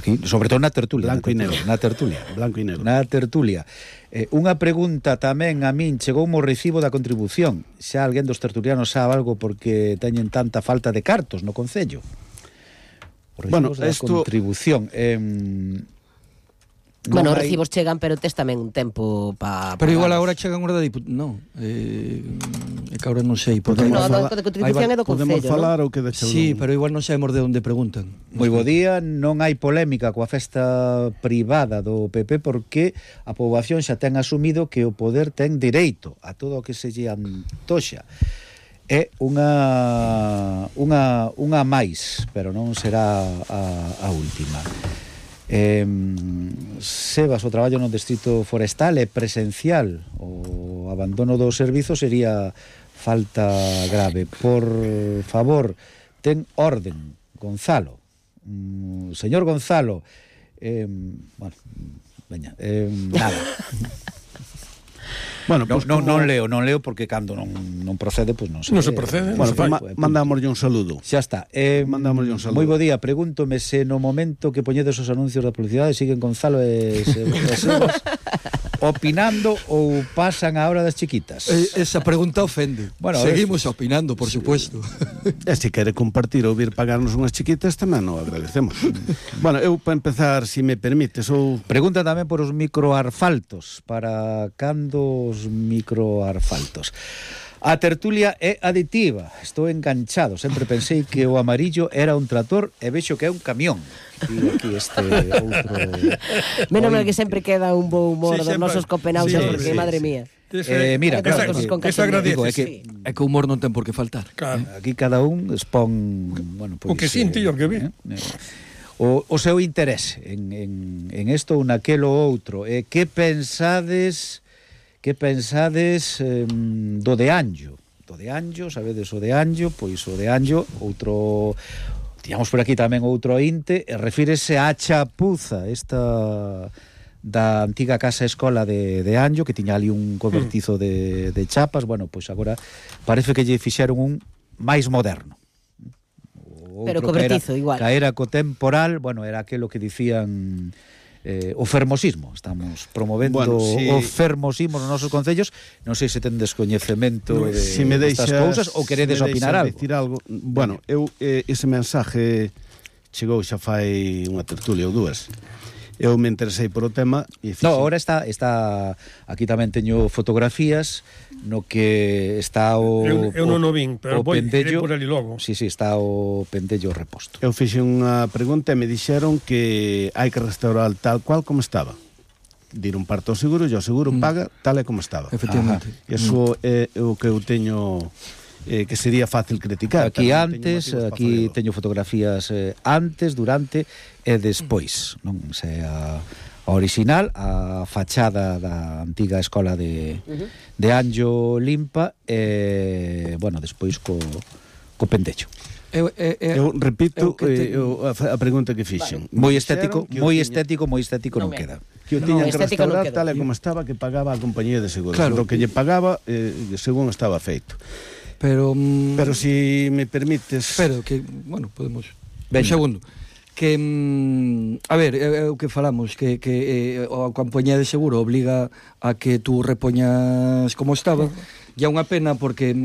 aquí, sobre todo na tertulia. Blanco e negro. Na tertulia. Blanco e negro. Na tertulia. Unha pregunta tamén a min, chegou o recibo da contribución. Xa alguén dos tertulianos sabe algo porque teñen tanta falta de cartos no Concello. Os recibos da contribución. Bueno, os recibos chegan, pero tes tamén un tempo para... Pero igual agora chegan hora de diputación. Non, é que agora non sei. No, de contribución é do Concello, podemos falar ou que deixou? Sí, pero igual non sabemos de onde preguntan. Moi bo día, non hai polémica coa festa privada do PP porque a poboación xa ten asumido que o poder ten dereito a todo o que se lle antoxa. É unha máis, pero non será a última. Sebas, o traballo no distrito forestal é presencial, o abandono do servizo sería falta grave. Por favor, ten orden, Gonzalo. Señor Gonzalo, bueno, veña, nada. Bueno, pues non leo porque cando non procede, pois non se non se procede. Bueno, mandámoslle un saludo. Xa está. Mandámoslle un saludo. Moi bo día, pregúntome se no momento que poñedes os anuncios da publicidade siguen Gonzalo e Sebas opinando ou pasan a hora das chiquitas. Esa pregunta ofende. Bueno, seguimos opinando, por supuesto. E se quere compartir ou vir pagarnos unhas chiquitas tamén o agradecemos. Bueno, eu para empezar, se me permites, pregunta tamén por os microarfaltos, para cando os microarfaltos. A tertulia é aditiva, estou enganchado, sempre pensei que o amarillo era un trator e vexo que é un camión. E aquí este outro... Menos mal que sempre queda un bo humor dos nosos copenautas, porque, madre mía. Mira, claro, é que o humor non ten por que faltar. Aquí cada un expón, bueno, o que sinti e o que vi. O seu interese en isto ou naquelo outro. Que pensades do de Anxo? Do de Anxo, sabedes o de Anxo? Pois o de Anxo, outro... Tiñamos por aquí tamén outro ointe, refírese á chapuza, esta da antiga casa escola de Anxo, que tiña ali un cobertizo de chapas. Bueno, pois agora parece que lle fixeron un máis moderno. Pero cobertizo, igual. Caera co temporal, bueno, era aquelo que dicían... o fermosismo, estamos promovendo o fermosismo nos nosos concellos. Non sei se ten descoñecemento destas cousas ou queredes opinar algo. Bueno, eu ese mensaje chegou xa fai unha tertulia ou dúas. Eu me interesei por o tema e agora está aquí tamén teño fotografías no que está o eu non o vin, pero vou pendello, por ali logo. Sí, está o pendello reposto. Eu fixe unha pregunta e me dixeron que hai que restaurar tal cual como estaba. Dir un parto ao seguro e o seguro paga tal e como estaba. Efectivamente. Eso é o que eu teño que sería fácil criticar. Aquí antes, aquí teño fotografías antes, durante e despois, non sei a original, a fachada da antiga escola de Anxo limpa e, bueno, despois co pendecho. Eu repito a pregunta que fixen. Moi estético non queda. Que o tiñan que restaurar tal e como estaba, que pagaba a compañía de seguros. Lo que lle pagaba según estaba feito. Pero si me permites... Pero que, bueno, podemos... Un segundo. Que, a ver, é o que falamos, que a compañía de seguro obliga a que tú repoñas como estaba, e é unha pena porque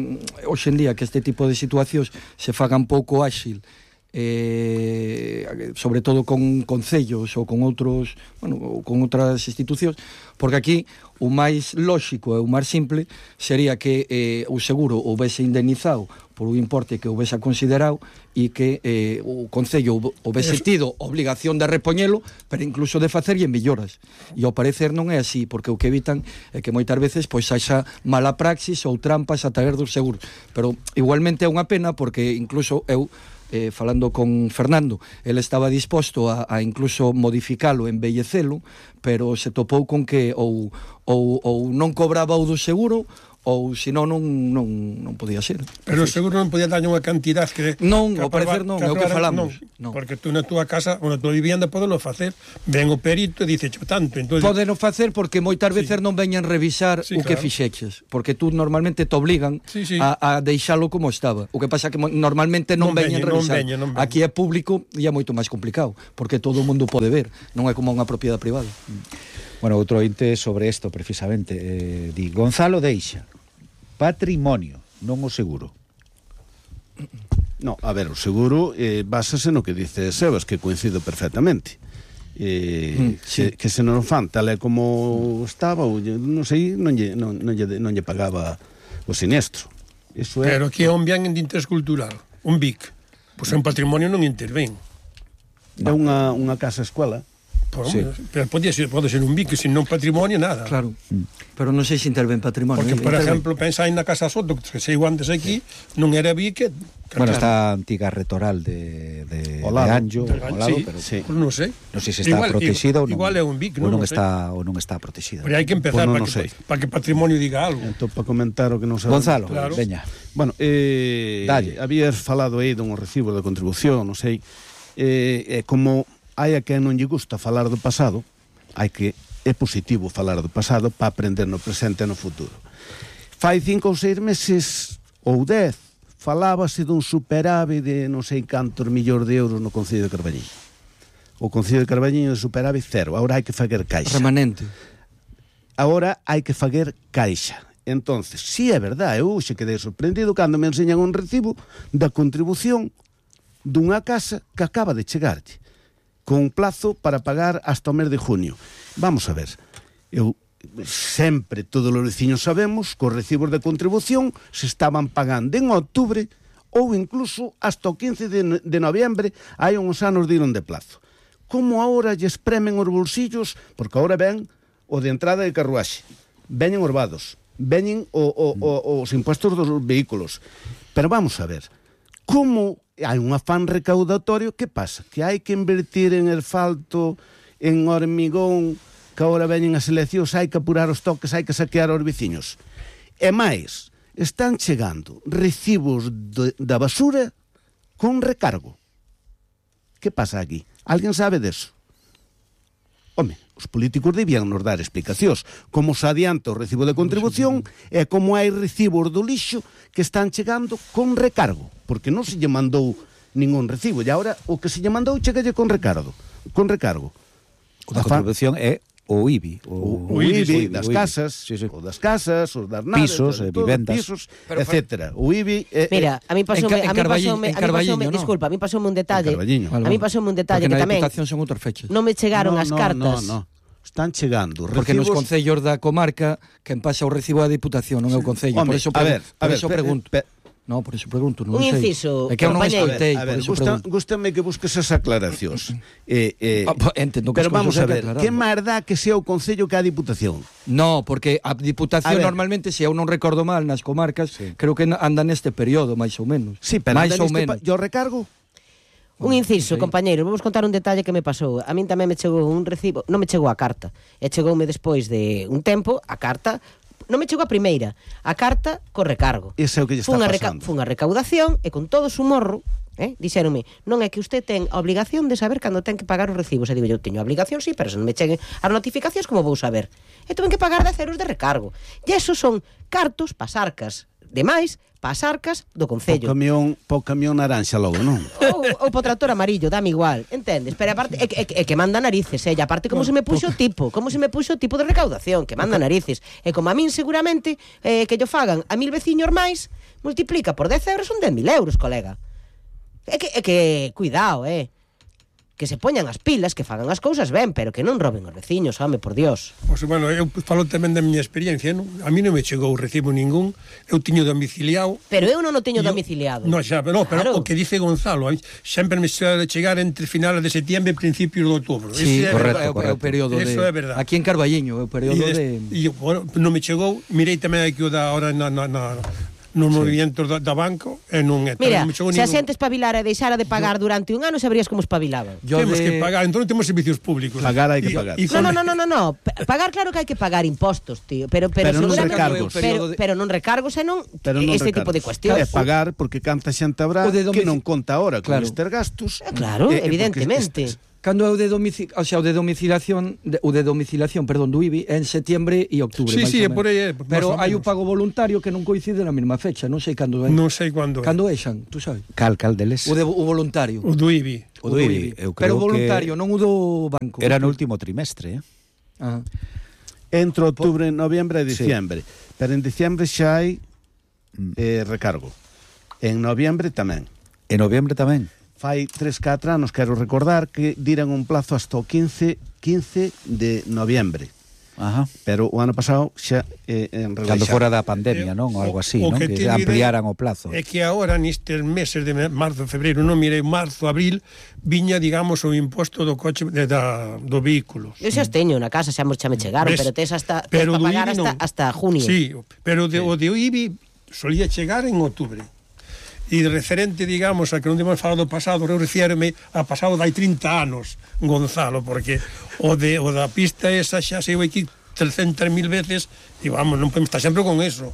hoxe en día que este tipo de situacións se fagan pouco áxil, sobre todo con concellos ou con outros, bueno, con outras institucións, porque aquí o máis lóxico e o máis simple sería que o seguro houvese indemnizado por un importe que houvese considerado e que o Concello houvese tido obligación de repoñelo, pero incluso de facerlle melloras. E ao parecer non é así, porque o que evitan é que moitas veces pois haxa mala praxis ou trampas a través dos seguros. Pero igualmente é unha pena porque incluso eu falando con Fernando, ele estaba disposto a incluso modificalo, embellecelo, pero se topou con que ou non cobraba o do seguro ou senón non podía ser. Pero seguro non podía darlle unha cantidad que... Non, ao parecer non, é o que falamos. Non. Porque tú na túa casa ou na túa vivienda podelo facer. Ven o perito e dice tanto. Entonces... Podeno facer porque moitas veces non veñan revisar o que fixeches. Porque tú normalmente te obligan a deixalo como estaba. O que pasa que normalmente non veñan revisar. Aquí é público e é moito máis complicado, porque todo o mundo pode ver. Non é como unha propiedade privada. Bueno, outro ointe sobre isto, precisamente. Di, Gonzalo deixa patrimonio, non o seguro. No, a ver, o seguro básase no que dice Sebas, que coincido perfectamente. Sí. Que se non fan tal é como estaba, ou non sei, non lle pagaba o sinestro. Eso é... Pero aquí é un bien de interés cultural, un BIC. Pois un patrimonio non intervén. É unha casa-escola. Sí. Pero pode ser un BIC, sin non patrimonio, nada. Claro, pero non sei se intervén patrimonio. Porque, por exemplo, pensai na Casa Soto, que sei antes aquí, non era BIC. Bueno, está a antiga retoral de Anjo, pero sí. Non sei. Non sei se está protegido ou non. Igual é un BIC, non está protegida. Pero hai que empezar para que patrimonio diga algo. Entón, para comentar o que non sabe. Gonzalo, claro. Veña. Bueno, habías falado aí dun recibo de contribución, non sei, como hai a quen non lle gusta falar do pasado, é positivo falar do pasado para aprender no presente e no futuro. Fai 5 ou 6 meses ou 10 falábase dun superávit de non sei cantos millóns de euros no Concello de Carballiño. O Concello de Carballiño de superávit cero, agora hai que fager caixa. Remanente. Agora hai que fager caixa. Entonces, si é verdade, eu xe quedei sorprendido cando me enseñan un recibo da contribución dunha casa que acaba de chegarlle, con un plazo para pagar hasta o mes de junio. Vamos a ver, eu sempre, todos os veciños sabemos que os recibos de contribución se estaban pagando en outubro ou incluso hasta o 15 de noviembre, hai uns anos diron de plazo. Como agora lle espremen os bolsillos, porque agora ven o de entrada de carruaxe, veñen os vados, veñen os impuestos dos vehículos. Pero vamos a ver, como hai un afán recaudatorio, que pasa? Que hai que invertir en asfalto, en hormigón, que agora veñen as eleccións, hai que apurar os toques, hai que saquear os veciños. E máis, están chegando recibos da basura con recargo. Que pasa aquí? Alguén sabe deso? Home, os políticos debían nos dar explicacións. Como se adianta o recibo de contribución e como hai recibos do lixo que están chegando con recargo. Porque non se lle mandou ningún recibo. E agora o que se lle mandou chegalle con recargo. O da contribución é o IBI. O IBI das casas, o das casas, os das naves, pisos, vivendas, pisos, etc. O IBI... Mira, a mí pasoume un detalle. A mí pasoume un detalle que tamén... Porque na Diputación son outras fechas. Non me chegaron as cartas. No. Están chegando recibos... Porque nos concellos da comarca quen pasa o recibo da Diputación, non é o concello. Por eso pregunto. No, por eso pregunto, non sei. Inciso, é que eu non escoitei, por eso pregunto. Gústame que busques esas aclaracións. Entendo que pero vamos a ver, que máis dá que sea o Concello que a Diputación? No, porque a Diputación normalmente, se eu non recordo mal, nas comarcas, creo que anda neste período, máis ou menos. Sí, pero máis ou menos. Yo recargo? Un inciso, compañeiro, vamos contar un detalle que me pasou. A min tamén me chegou un recibo, non me chegou a carta, e chegoume despois de un tempo a carta. Non me chegou a primeira, a carta co recargo. Iso é o que lle está pasando. Fun a recaudación e con todo o su morro, dixéronme, non é que usted ten a obligación de saber cando ten que pagar os recibos. E digo, eu teño a obligación, sí, pero se non me cheguen as notificacións, como vou saber? E tuven que pagar 10 euros de recargo. E esos son cartos pasarcas demais, pasarcas do Concello. Po camión naranxa logo, non? Ou po tractor amarillo, dame igual, entendes? Pero aparte, é que manda narices, e aparte como se me puxo o tipo de recaudación, que manda narices. E como a min seguramente que yo fagan a 1000 veciños máis, multiplica por 10 euros, son 10.000 euros, colega. É que cuidado, que se poñan as pilas, que fagan as cousas ben, pero que non roben os veciños, home, por Dios. Pois, bueno, eu falo tamén da miña experiencia, non? A mí non me chegou recibo ningún, eu tiño domiciliado. Pero eu non o teño domiciliado. No, xa, pero claro. O que dice Gonzalo, sempre me suele chegar entre finales de setembro e principios de outubro. Sí, correcto. É o período de... Eso é verdade. Aquí en Carballiño, é o período de... E, bueno, non me chegou, mirei tamén aquí o da hora nos movimentos da banco e non é. Mira, se a xente espabilara e deixara de pagar durante un ano, sabrías como espabilaban. Temos que pagar, entón non temos servicios públicos. Pagar hai que pagar. No. Pagar claro que hai que pagar impostos, tío, pero non recargos. Pero non recargos e non este tipo de cuestións. É pagar porque canta xente habrá que non conta ahora con estes gastos. Claro, evidentemente. Cando é o de domiciliación, do IBI en setembro e outubro. Sí, por aí é. Pero hai o pago voluntario que non coincide na mesma fecha, non sei cando é. Non sei cando é. Cando é, Xan, tú sabes? Cal deles? O voluntario. O do IBI. O do IBI. Pero o voluntario, non o do banco. Era no último trimestre, Entre outubro, noviembre e diciembre. Pero en diciembre xa hai recargo. En noviembre tamén. En noviembre tamén. Fai 3-4 anos, quero recordar, que diran un plazo hasta o 15 de noviembre. Ajá. Pero o ano pasado xa enreleixaron. Cando fora da pandemia, non? Ou algo así, non? Que ampliaran o plazo. É que agora, nestes meses de marzo, febreiro, non mirei, marzo, abril, viña, digamos, o imposto do coche do vehículo. Eu xa os teño na casa, xa me chegaron, pero tes para pagar hasta junio. Sí, pero o de IBI solía chegar en outubro. E referente, digamos, a que non temos falado do pasado, eu refierme a pasado dai 30 anos, Gonzalo, porque o da pista esa xa se aquí 300.000 veces e vamos, non podemos estar sempre con eso.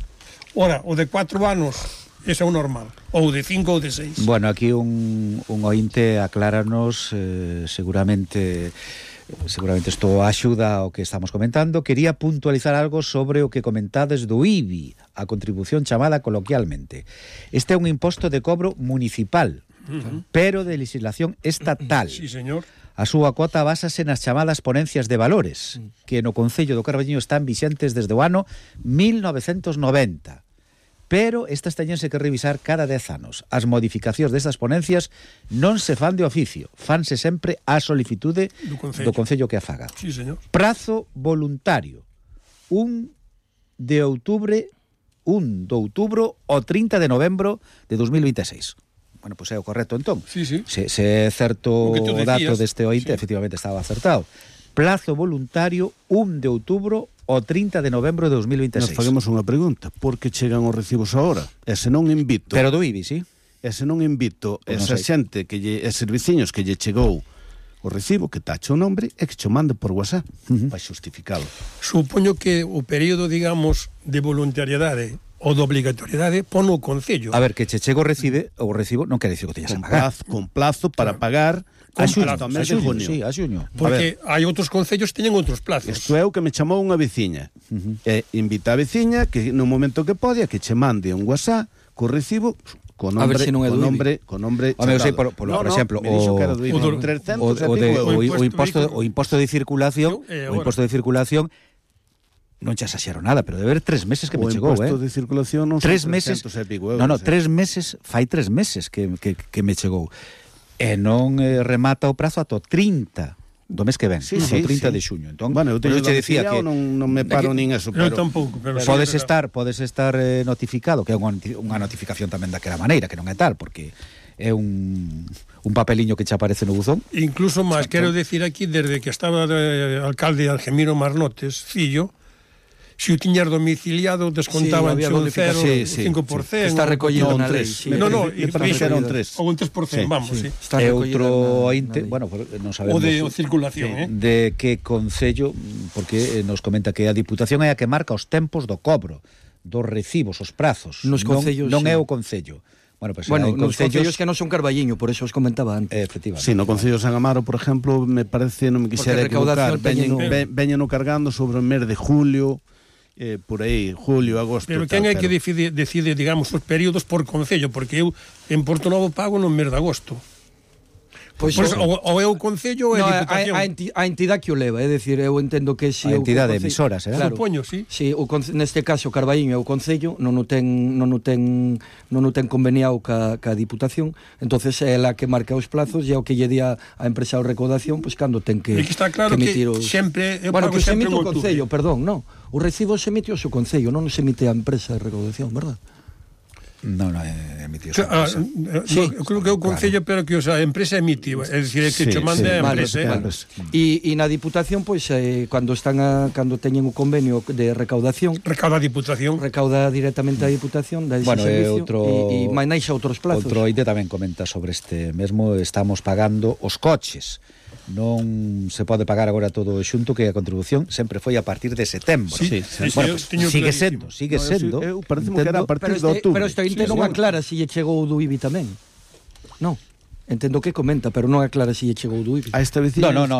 Ora, o de 4 anos, ese é o normal, ou de 5 ou de 6. Bueno, aquí un ointe acláranos seguramente isto axuda ao que estamos comentando. Quería puntualizar algo sobre o que comentades do IBI, a contribución chamada coloquialmente. Este é un imposto de cobro municipal, pero de legislación estatal. Sí, señor. A súa cuota básase nas chamadas ponencias de valores, que no Concello do Carballiño están vixentes desde o ano 1990. Pero estas teñense que revisar cada 10 anos. As modificacións destas ponencias non se fan de oficio, fanse sempre a solicitude do Concello que a faga. Sí, señor. Prazo voluntario, 1 de outubro ao 30 de novembro de 2026. Bueno, pois é o correcto entón. Sí. Se é certo o dato deste ointe, efectivamente estaba acertado. Plazo voluntario, 1 de outubro o 30 de novembro de 2026. Nos faguemos unha pregunta. Por que chegan os recibos ahora? E se non invito... Pero do IBI, sí? E se non invito esa xente, eses veciños que lle chegou o recibo, que tache o nombre, e que che mande por WhatsApp para xustificalo. Supoño que o período, digamos, de voluntariedade ou de obrigatoriedade pon o Concello. A ver, que che chego o recibo non quere dicir que teñas a pagar. Con plazo para pagar... A xuño, sí, a xuño. Porque hai outros concellos que teñen outros plazos. Isto é o que me chamou unha veciña. E invita a veciña que no momento que pode que che mande un WhatsApp co recibo con nombre, si non é do IBI. Con nombre por exemplo, o imposto de circulación, non che asaxero nada, pero debe haber 3 meses que me chegou, O imposto de circulación non 3 meses. euros. No, 3 meses, fai 3 meses que me chegou. E non remata o prazo ata o 30 do mes que ven, o 30 de xuño. Entón, bueno, eu teño decía que non me paro nin eso, pero tampouco, pero podes estar notificado, que é unha notificación tamén daquela maneira, que non é tal, porque é un papeliño que che aparece no buzón. Incluso máis, quero decir aquí, desde que estaba alcalde Algemiro Marnotes, fillo, se o tiñas domiciliado descontaban un 0,5%. Está recollido na lei. Non, era un 3. Ou un 3%, vamos, sí. É outro ointe, bueno, non sabemos. O de circulación, de que concello, porque nos comenta que a Diputación é a que marca os tempos do cobro, dos recibos, os prazos. Nos concellos, non é o Concello. Bueno, nos concellos que non son Carballiño, por eso os comentaba antes. Efectivamente. Sí, no Concello de San Amaro, por exemplo, me parece, non me quixera equivocar, veñeno cargando sobre o mes de julio, por aí, julio, agosto. Pero quen é que decide, digamos, os períodos por concello? Porque eu en Porto Novo pago no mes de agosto. Pois ou é o Concello ou é a Diputación. A entidade que o leva, é dicir, eu entendo que a entidade de emisoras, claro. Supoño, sí. Si, neste caso Carballiño é o Concello, non o ten conveniado ca Diputación, entonces é ela que marca os plazos e é o que lle di a empresa de recaudación, pois cando ten que está claro que sempre eu pago que se sempre emite o Concello, perdón, non. O recibo se emite o seu Concello, non se emite a empresa de recaudación, verdad? Non, emitido. Creo que é o Concello, pero que a empresa emite, é dicir, que Sí, cho manda a vale, empresa. vale. E na Diputación, pois, cando teñen o convenio de recaudación, Recauda a Diputación. recauda directamente a Diputación, dá ese Bueno, servicio e manexa outros plazos. Outro ointe tamén comenta sobre este mesmo, estamos pagando os coches. Non se pode pagar agora todo xunto, que a contribución sempre foi a partir de setembro. Sí, Bueno, sí, pues, teño sigue clarísimo. sendo. Eu pareceme que era a partir de outubro. Pero este ointe non aclara se lle chegou do IBI tamén. Non. Entendo que comenta, pero non aclara se lle chegou do IBI. A esta vecina Non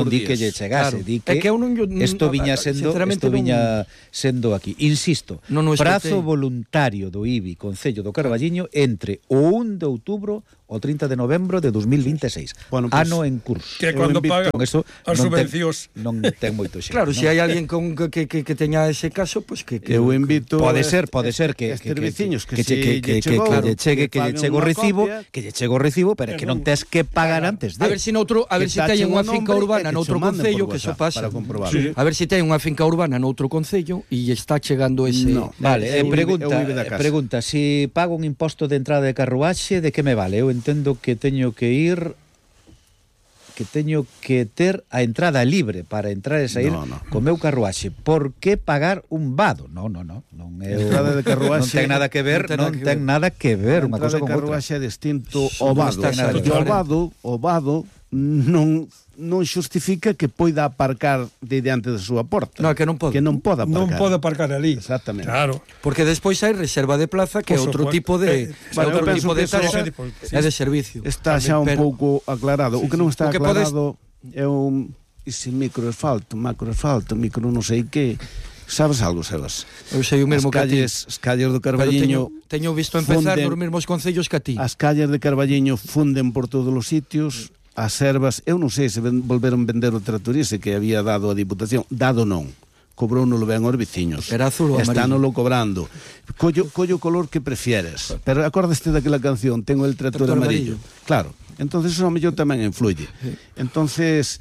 di que lle chegase, Claro. di É que eu non- isto viña sendo, sinceramente isto viña sendo aquí. Insisto, Non o prazo escoitei. voluntario do IBI Concello do Carballiño entre o 1 de outubro o 30 de novembro de 2026. Bueno, pues, ano en curso. Que é Eu cando invito- paga Con eso as subvencións. non ten moito xeito. Claro, non? se hai alguén que teña ese caso, pois que Eu invito Pode ser que estes veciños que che- si lle chegou, lle chegue que lle paguen chego o unha recibo, copia. que lle chego o recibo, pero que non tes que pagar antes de. A ver se Que teñen unha tachen o finca nombre urbana e que noutro cho manden concello, por que eso WhatsApp pasa. para comprobar. Sí. A ver se ten unha finca urbana noutro concello e lle está chegando ese. No. Vale, Eu vive da casa. pregunta, si pago un imposto de entrada de carruaxe, de que me vale? Eu entendo que teño que ter a entrada libre para entrar e sair No. co meu carruaxe. Por que pagar un vado? Non é Entrada de carruaxe- non ten nada que ver, non ten nada que ver unha cosa con outra. Carruaxe é distinto Sí, ao non vado. está nada Porque que ver. o vado non xustifica que poida aparcar de diante da súa porta. No, que non pode. Que non pode aparcar. Non pode aparcar ali. Exactamente. Claro. Porque despois hai reserva de plaza que é Por outro suposto. tipo de Bueno, eu outro penso tipo de que eso- taxa sí. é de servicio. Está xa un Pero- pouco aclarado. O que non está O que podes- aclarado é un ese microasfalto, macroasfalto, micro non sei que. Sabes algo, Sebas? Eu sei o mesmo que a ti. As calles do Pero Carballiño teño visto empezar funden- nos mesmos concellos que a ti. As calles de Carballiño funden por todos os sitios. As servas, eu non sei se volveron vender o tractorice que había dado a Diputación. Dado non. Cobrónolo ben aos veciños. Era azul ou amarillo? Estánoslo cobrando. Collo o color que prefieres. Pero acordaste daquela canción, tengo el tractor amarillo. Claro. Entonces eso a mellor tamén influye. Entonces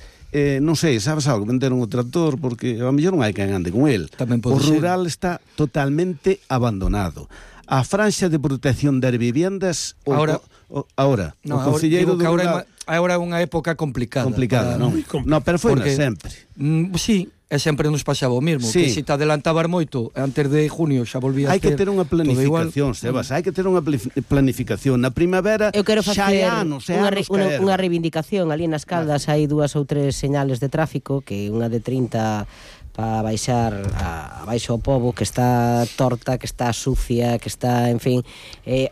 non sei, sabes algo, venderon o tractor porque a mellor non hai quen ande con el. Tamén O pode ser. rural está totalmente abandonado. A franxa de protección das viviendas Ahora- ahora No, o concelleiro digo que do ahora rural é unha época complicada. complicada, non? Moi complicada. No, pero foi Porque- sempre. Sí, e sempre nos pasaba o mesmo, Sí. que se te adelantabar moito antes de junio xa volvías Hai que ter unha todo igual. planificación, Sebas, hai que ter unha planificación. Na primavera Eu quero xa facer hai anos, unha reivindicación ali nas Caldas. Hai 2 ou 3 señales de tráfico, que unha de 30 para baixar a baixo ao pobo, que está torta, que está sucia, que está, en fin,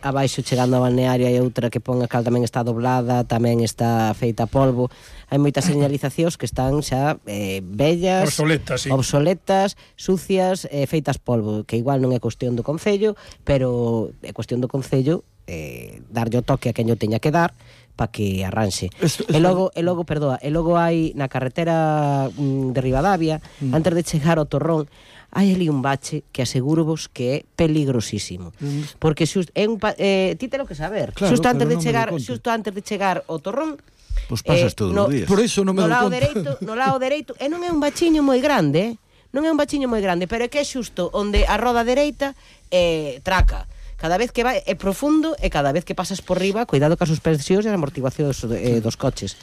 abaixo chegando ao balneario. Hai outra que pon a cal tamén está doblada, tamén está feita a polvo. Hai moitas señalizacións que están xa vellas, Obsoletas, sí. obsoletas, sucias, feitas polvo, que igual non é cuestión do Concello, pero é cuestión do Concello darlle o toque a quen o teña que dar para que arranxe. E logo hai na carretera de Ribadavia, antes de chegar ao Torrón, hai ali un bache que aseguro-vos que é peligrosísimo. Porque ti te lo que saber. Claro, Xusto antes pero de non me chegar, lo contes. xusto antes de chegar ao Torrón, Pois pasas todos os días. Por eso non me no dou lado conta. no lado dereito, e non é un bachiño moi grande, non é un bachiño moi grande, pero é que é xusto onde a roda dereita traca. Cada vez que vai é profundo e cada vez que pasas por riba, cuidado cas suspensións e as amortiguacións dos coches.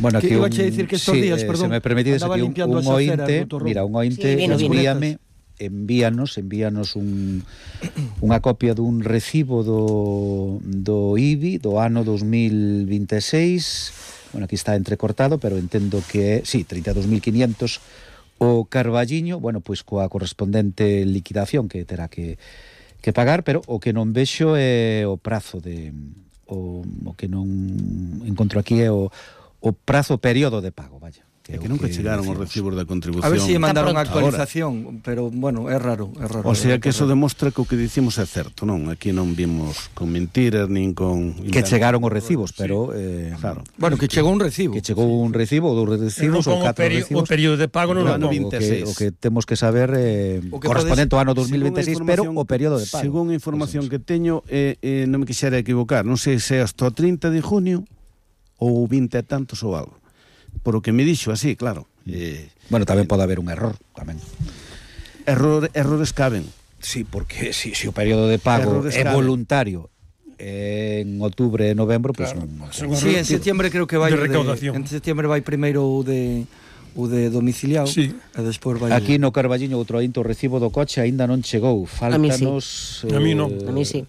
Bueno, Que aquí iba a dicir que estos días, perdón, se me permitides andaba aquí limpiando un as aceras ointe, do Torrón. mira, un ointe, Sí, vino. envíanos unha copia dun recibo do IBI do ano 2026. Bueno, aquí está entrecortado, pero entendo que é, sí, 32.500 o Carballiño, bueno, pois coa correspondente liquidación que terá que pagar, pero o que non vexo é o prazo o que non encontro aquí é o prazo período de pago, vaya. É que nunca chegaron os recibos da contribución. A ver se si mandaron Está a actualización, pero bueno, é raro. O sea que eso demostra que o que dicimos é certo, non? Aquí non vimos con mentiras nin con... Que chegaron os recibos, pero Claro. Bueno, que chegou un recibo. que chegou un recibo ou 2 recibos ou 4 recibos. O período de pago non Ano o pongo. 26. O que temos que saber O que correspondente ao ano Según 2026, pero o período de pago. Según a información que teño, non me quixera equivocar, non sei se é hasta o 30 de junio ou 20 e tantos ou algo. Por o que me dixo así, claro. Bueno, tamén pode haber un error, tamén. Errores caben. Sí, porque si o período de pago Errores é grave. voluntario en outubro e novembro, pues Claro, non. son Sí, en septiembre creo que vai de o recaudación. en septiembre vai primeiro o de domiciliado Sí. e despois vai Aquí no Carballiño outro ainto o recibo do coche aínda non chegou. Faltanos A mí non. A mí sí.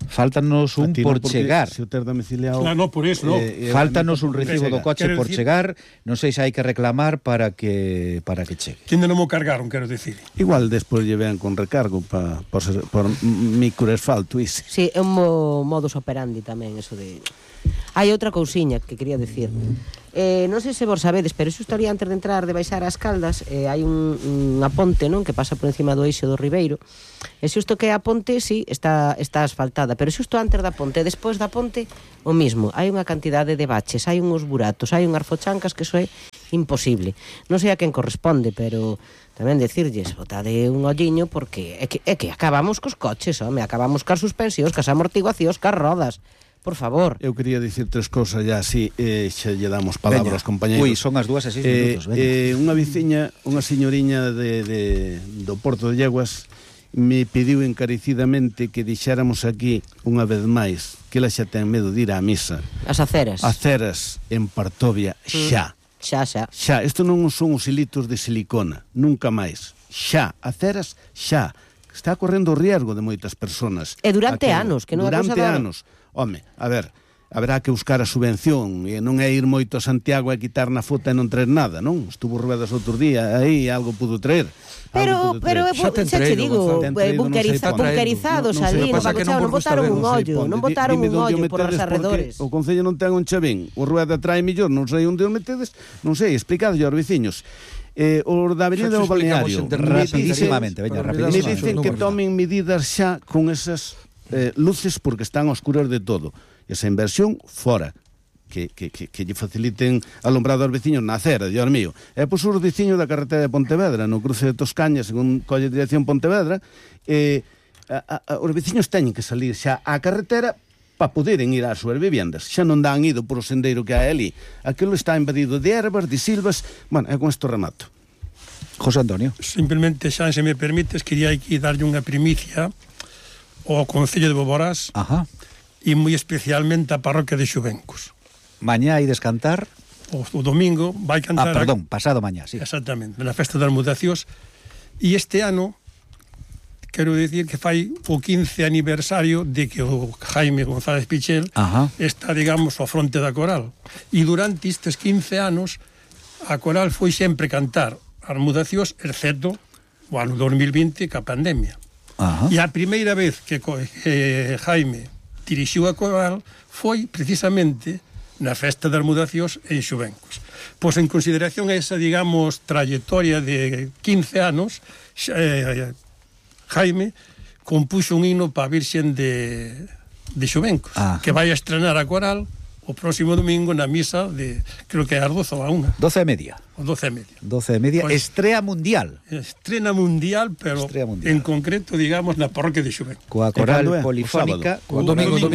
Faltanos un A ti non, por porque chegar. Se o ter domiciliado... Claro, no, por eso, no. Faltanos un recibo do coche Quero por decir- chegar, non sei se hai que reclamar para que chegue. Que ainda non mo cargaron, quero decir. Igual despois lle ven con recargo por microasfalto, ise. Sí, é un modus operandi tamén, eso de... Hai outra cousiña que quería decir. Non sei se vos sabedes, pero xusto ali antes de entrar de baixar as Caldas, hai unha ponte, non, que pasa por encima do eixo do Ribeiro. E xusto que a ponte, sí, está asfaltada, pero xusto antes da ponte, e despois da ponte, o mismo. Hai unha cantidade de baches, hai uns buratos, hai unhas fochancas que iso é imposible. Non sei a quen corresponde, pero tamén decirlles, botade un olliño, porque é que acabamos cos coches, home, acabamos cas suspensións, cas amortiguacións, cas rodas. Por favor. Eu quería dicir tres cousas ya así, xa lle damos palabra aos compañeros. Ui, son as 2:06 minutos, veña. Unha veciña, unha señoriña do Porto de Lleguas me pediu encarecidamente que dixéramos aquí unha vez máis que ela xa ten medo de ir á misa. As aceras. Aceras en Partovia xa. Xa. Xa, isto non son os hilitos de silicona, nunca máis. Xa, aceras xa. Está correndo o riesgo de moitas persoas. E durante anos, que non é cousa durante de ahora. anos. Home, a ver, haberá que buscar a subvención e non é ir moito a Santiago e quitar na foto e non traer nada, non? Estuvo Ruedas outro día, aí algo pudo traer. Pero Xa ten xa te traído, digo, Gonzalo. Ten traído, non sei para- bunkerizados non sei ali, para- no pasa que non Pacochao, non vos gusta botaron ver, un non sei ollo, Ponte, non botaron dime un onde o ollo por os metedes, arredores. porque o Concello non ten un chavén, o Rueda trae millón, non sei onde o metedes, non sei, explicadlle aos veciños. O da Avenida Xa do te explicamos Balneario, entre rapidísimamente, veña, me rapidísimamente. dicen que tomen medidas xa con esas luces porque están oscuras de todo. Esa inversión fora. Que lle faciliten alumbrado aos veciños na acera, Dios mío. E pois os veciños da carretera de Pontevedra, no cruce de Toscaña, según colle dirección Pontevedra, os veciños teñen que salir xa á carretera para poderem ir ás súas viviendas. Xa non dan ido por o sendeiro que hai ali. Aquilo está invadido de ervas, de silvas. Bueno, e con isto remato. José Antonio. Simplemente, xa, se me permites, quería aquí darlle unha primicia ao Concello de Boborás Ajá. e moi especialmente a parroquia de Xuvencos. Mañá hai descantar. O domingo vai cantar... Pasado mañá, sí. Exactamente, na festa das mudacións. E este ano, quero dicir que fai o 15 aniversario de que o Jaime González Pichel Ajá. está, digamos, ao fronte da coral. E durante estes 15 anos, a coral foi sempre cantar as mudacións, excepto o ano 2020, ca pandemia. Ajá. E a primeira vez que Jaime dirixiu a coral foi precisamente na festa das mudacións en Xuvencos. Pois en consideración a esa, digamos, trayectoria de 15 anos, Jaime compuxo un himno para a Virxen de Xuvencos, que vai a estrenar a coral o próximo domingo na misa de, creo que é as 12 ou a 1. 12:30. O 12:30. 12:30. Pues, Estrela mundial. Estrena mundial, pero Estrela mundial. en concreto, digamos, na parroquia de Xuvencos. Coa coral cando é? polifónica. O domingo.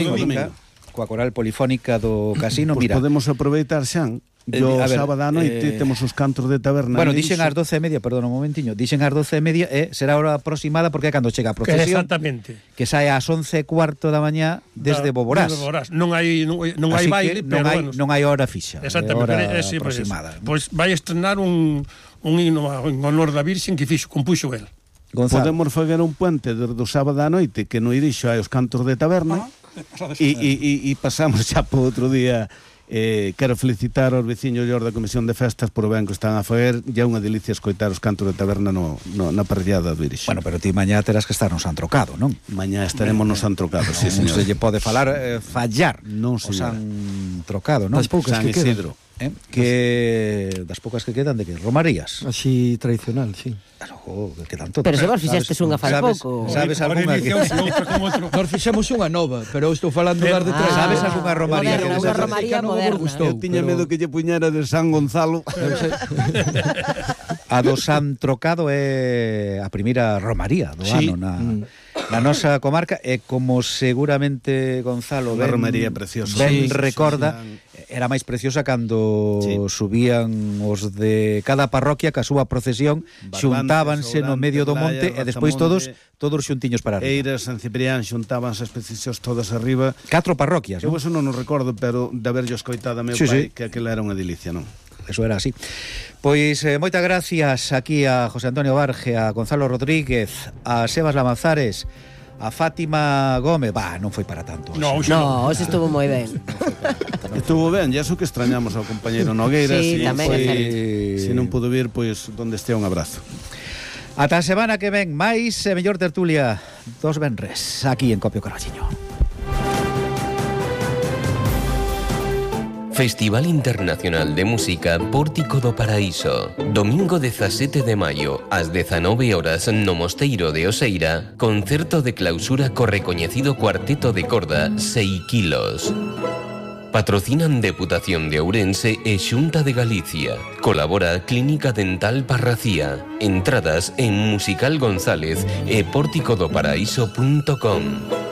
Coa coral polifónica do casino, Pois mira. podemos aproveitar, Xan, o a ver, sábado á noite temos os cantos de taberna. Bueno, en dixen Eixo. ás 12:30, perdón un momentiño. Dixen ás 12:30 será a hora aproximada porque é cando chega a procesión. Exactamente. Que sae ás 11:15 da mañá desde Boborás. De Boborás. Non hai Así baile, que pero non hai hora fixa. Exactamente, é hora sí, aproximada. Pois vai estrenar un hino en honor da Virxen que compuxo el. Gonzalo. Podemos fazer un puente desde o sábado á noite que no Irixo hai os cantos de taberna e pasamos xa por outro día. Quero felicitar aos veciños e aos da Comisión de Festas por o ben que están a fazer. E é unha delicia escoitar os cantos de taberna na parrillada do Irixo. Bueno, pero ti mañá terás que estar no San Trocado, non? Mañá estaremos no San Trocado, sí, Non señor. se lle pode falar fallar Non, o señora. San Trocado, non? Das poucas San que quedan. Isidro. Que das poucas que quedan de que romarías. Así tradicional, sí. Claro, que quedan todas. Pero se vos fixestes unha fai sabes- pouco. Sabes Ahora algunha que iniciamos outra con outro. Nós fixemos unha nova, pero eu estou falando das de tres. sabes algunha romaría moderna, que unha desas- romaría non vos moderna. gustou, Eu tiña pero- medo que lle puñara de San Gonzalo. A do San Trocado é a primeira romaría do Sí. ano na nosa comarca e como seguramente Gonzalo Unha ben, romaría preciosa. ben Sí, sí, recorda, sí, era máis preciosa cando subían os de cada parroquia ca súa procesión, xuntábanse no medio do monte e despois todos xuntiños para arriba. Eiras, San Ciprián, xuntábanse as procesións todas arriba. 4 parroquias, Eu non? eso non o recordo, pero de haberlo escoitado a meu pai, que aquela era unha delicia, non? Eso era así. Pois moitas gracias aquí a José Antonio Barge, a Gonzalo Rodríguez, a Sebas Lamanzares, a Fátima Gómez. Non foi para tanto. No, hoxe estuvo moi ben. Estuvo ben, e eso que extrañamos ao compañeiro Nogueira. Sí, tamén é certo. Se non pudo vir, pois donde estea un abrazo. Ata a semana que ven, máis e mellor tertulia dos venres aquí en Copio Carballiño. Festival Internacional de Música Pórtico do Paraíso. Domingo 17 de maio, ás 19 horas no Mosteiro de Oseira, concerto de clausura co recoñecido cuarteto de corda 6 kilos. Patrocinan Deputación de Ourense e Xunta de Galicia. Colabora Clínica Dental Parracía. Entradas en Musical González e porticodoparaíso.com.